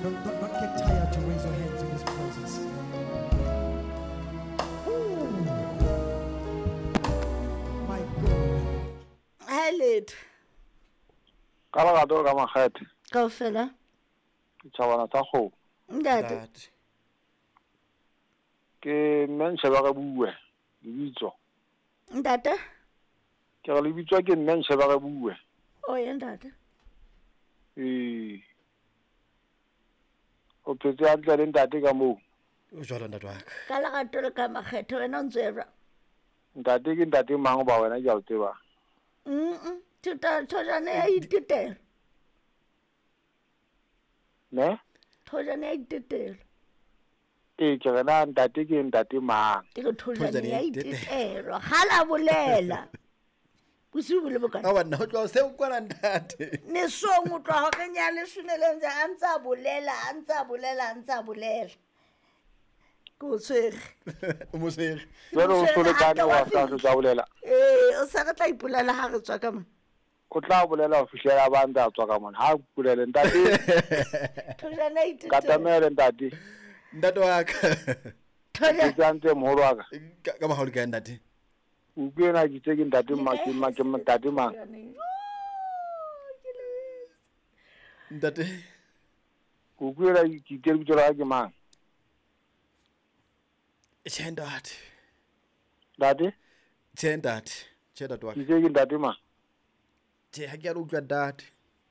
Don't get tired to raise your hands in His presence. Ooh. My God. Ha letho. Ka lerato ka makgethe. Kaofela. Ditjhabana tsa kgomo. Ntate. Ke mme Nsheba re bue lebitso. Ntate. Ke re lebitso ke mme Nsheba re bue. O ye ntate. Ee. O phetse hantle le ntate ka moo. O jwalo ntate wa ka. Ka lerato le ka makgethe wena o ntse jwang? Ntate ke ntate mang ba wena ke a o tseba. Thota thojane ya itetela. Ne? Thojane ya itetela. Ee, ke re na ntate ke ntate mang? Ke re thojane ya itetelwa. Kgala bolela. Bosiu bo le bokana. Awa nna o tloha seo kwana ntate. Mesong o tloha horeng ya leshome le ntse a ntse a bolela, a ntse a bolela, a ntse a bolela. Ke o tshwere. O mo tshwere. Jwale o solekane wa sa tla bolela. Ee, o sa re tla ipolela ha re tswa ka mona. O tla bolela ho fihlela ba ntse a tswa ka mona. Ha bolele ntate. Thojane a itetelwa. Katamele ntate. Ntate wa ka. Thojane. Ke ntse moholo wa ka. Ka maholo ke ntate. O ke ena ke tse ke ntate mang ke mang ke ntate mang. Ntate. O ke ena ke tse lebitso la ka ke mang? Tjhe ntate. Ntate? Tjhe ntate. Tjhe ntate wa ka. Ke tse ke ntate mang? Tjhe ha ke a utlwa ntate.